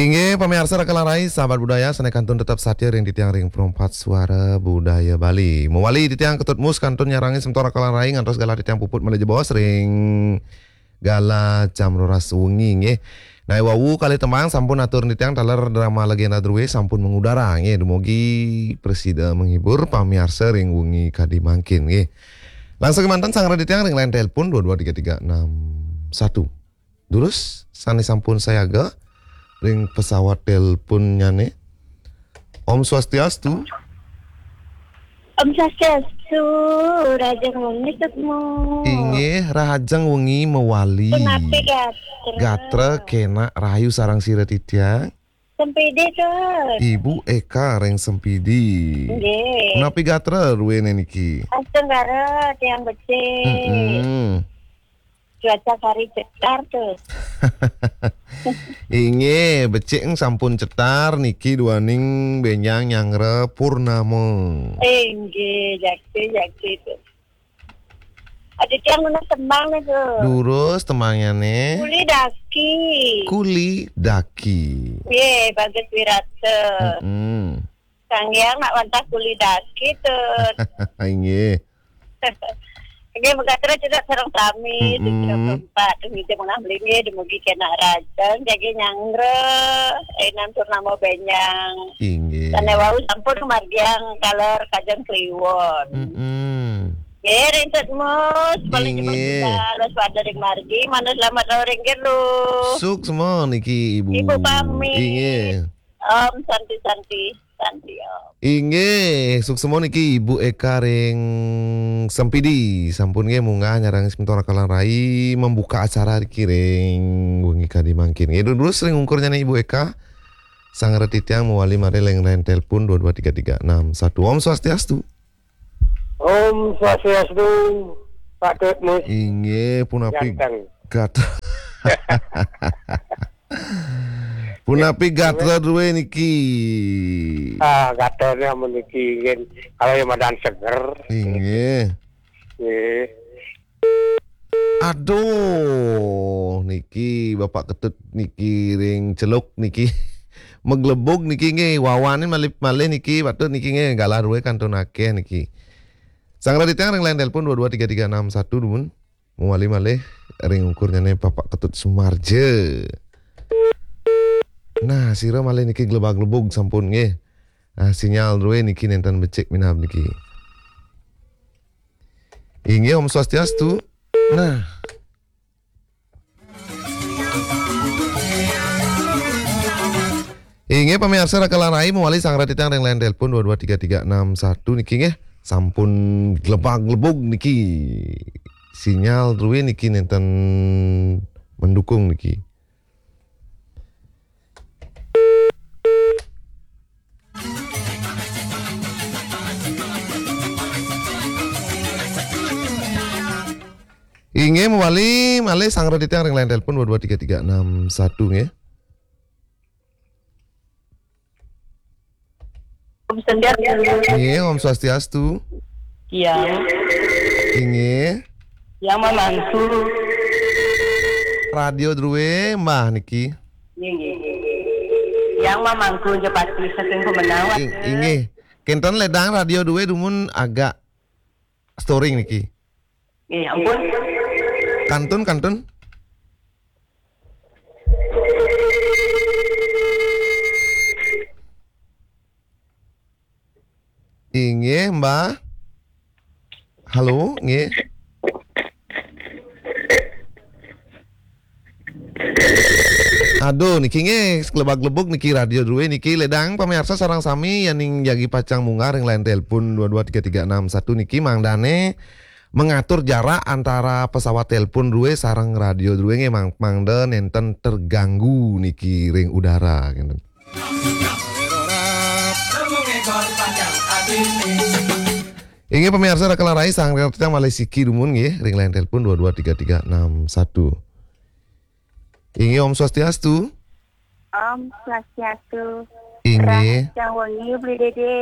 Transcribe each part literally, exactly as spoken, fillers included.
Inggih, pamiarsa Raka lan Rai, sahabat budaya, sané kantun tetep satia ring titiang ring Perempat Suara Budaya Bali. Mawali titiang Ketut Mus kantun nyarangi semeton Raka lan Rai ngantos galah titiang puput malih jebos ring galah jam roras wengi, nggih. Nah, wau kalih tembang sampun atur titiang taler drama legenda drué sampun mengudara, nggih. Dumugi prasida menghibur pamiarsa ring wengi kadi mangkin, nggih. Langsung kémanten sareng titiang ring line telepon dua dua tiga tiga enam satu. Durus, sané sampun sayaga ring pesawat teleponnyané. Om Swastiastu. Om Swastiastu, rahajeng wengi Ketut Mus. Inggih, rahajeng wengi mawali. Punapi gatra? Gatra kénak rahayu sareng sira titiang. Sempidi, Tut. Ibu Eka ring Sempidi. Nggih. Punapi gatra druéné niki? Astenggara, tiang becik. Mm-mm. Cuaca sari cetar, Tut. Inggih, becik sampun cetar niki duaning bénjang nyanggra purnama. Inggih, jakti, jakti, Tut. Adi tiang nunas tembang nih, Tut. Durus tembangnyané. Kuli Daki. Kuli Daki. Nggih, Bagus Wirata. Mm-mm. Sang Hyang nak wantah kuli daki, Tut. Inggih. Inggih, mekaten cedhak sareng sami, mm-mm, sing empat, nggih, menah mlinggih, dumugi kénak rahajeng, jagi nyanggra, énten purnama bénjang. Inggih. Sané wau sampun margiang taler Kajeng Kliwon. Mm-mm. Nggih, ring Ketut Mus, paling inggih. Cepet, terus pada ring margi, manut selamat rauh ring jero. Suksma niki, Ibu. Ibu pamit. Inggih. Om Santi, Santi, Santi Om. Inggih, suksma niki Ibu Eka ring Sempidi. Sampun nggih munggah nyarengin semeton Raka lan Rai membuka acara niki ring wengi kadi mangkin. Nggih, durus ring ungkurnyané Ibu Eka. Sareng titiang mawali malih ring line telepon dua dua tiga tiga enam satu. Om Swastiastu. Om Swastiastu, Pak Ketut Mus. Inggih, punapi gatra. Ganteng. Punapi gatra drué niki? Ah, gatrané amun niki, nggih, kalau yang madan seger. Inggih. Nggih. Aduh, niki Bapak Ketut niki ring Celuk niki. Maglebug niki nggih, wawané malih, malih niki, patut niki nggih, galah drué kantun akéh niki. Sareng titiang ring line telepon dua dua tiga tiga enam satu dumun. Mawali malih ring ungkurnyané Bapak Ketut Sumarja. Nah, sira malih niki glebag-glebug sampun nggih. Ah, sinyal drué niki nénten becik minab niki. Inggih, Om Swastiastu. Nah. Inggih, pamiarsa Raka lan Rai mawali sareng titiang ring line telepon dua dua tiga tiga enam satu niki nggih. Sampun glebag-glebug niki. Sinyal drué niki nénten mendukung niki. Inggih, mawali malih sareng titiang ring line telepon dua dua tiga tiga enam satu nggih. Om Swastiastu. Nggih, Om Swastiastu. Tiang. Inggih. Tiang mamangku. Radio drué, Mbah niki. Nggih, nggih. Tiang mamangku Jepati saking Pemenang. Ing-, inggih. Kénten lédang radio drué dumun agak storing niki. Nggih, ampun. Kantun, kantun. Inggih, Mbah. Halo, nggih. Aduh, niki nggih, glebag-glebug niki radio drué niki, lédang pamiarsa sareng sami yéning jagi pacang munggah ring line telepon dua dua tiga tiga enam satu niki mangdané mengatur jarak antara pesawat telepon drué sareng radio drué nggih, mang-, mangda nénten terganggu niki ring udara, ngénten. Inggih, pamiarsa Raka lan Rai, sareng titiang malih siki dumun nggih, ring line telepon dua dua tiga tiga enam satu. Inggih, Om Swastiastu. Om Swastiastu. Inggih. Rahajeng wengi, Beli Dédé.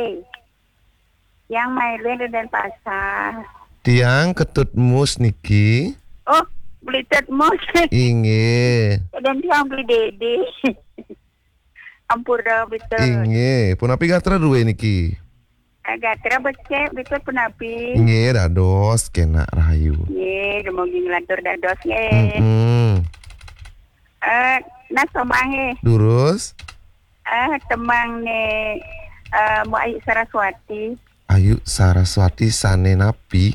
Tiang Mailin ring Dénpasar. Tiang Ketut Mus niki. Oh, Beli Tut Mus. Inggih. Dan tiang Beli Dédé. Ampura, Bitut. Inggih, punapi gatra dué niki? Eh, gatra becik, Bitut, punapi? Inggih, dados kénak rahayu. Inggih, dumugi nglantur dados nggih. Mm-mm. Eh, nah, somah nggih. Durus. Eh, tembang né, eh, Mbok Ayu Saraswati. Ayu Saraswati sané napi?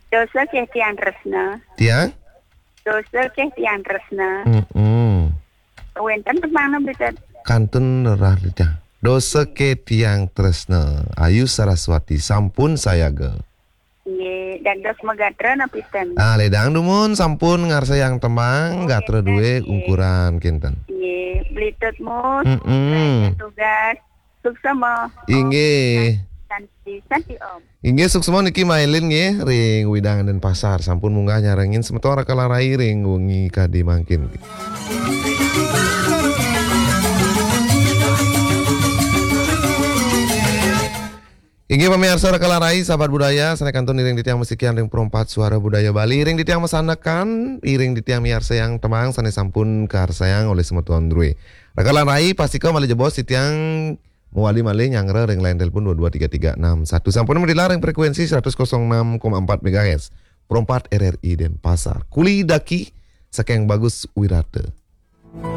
Dosa ké tiang tresna. Tiang? Dosa ké tiang tresna. Mm-mm. Wénten tembang napi, Tut? Kantun rerah tiang. Dosa ké tiang tresna. Ayu Saraswati sampun sayaga. Nggih, dados magatra napi ten? Ah, lédang dumun sampun ngarsayang tembang, oh, gatra dué, nggih, ungkuran kinten. Nggih, Blitut Mus, mm-mm, tugas. Suksma. Inggih. Santi, Santi Om. Inggih, suksma niki mailin nggih ring wewidangan Denpasar. Sampun munggah nyarengin semeton Raka Larai ring wengi kadi mangkin. Inggih pamiarsa Raka Larai, sahabat budaya, sané kantun iring titiang masikian ring Perempat Suara Budaya Bali, iring titiang masanekan, iring titiang miarsayang tembang sané sampun karsayang olih semeton drué. Raka Larai, pastika malih jebos titiang mawali malih nyanggra ring line telepon dua dua tiga tiga enam satu. Sampun madilar ring frekuensi seratus kosong enam koma empat megahertz. Perempat R R I Denpasar. Kuli daki saking Bagus Wirata.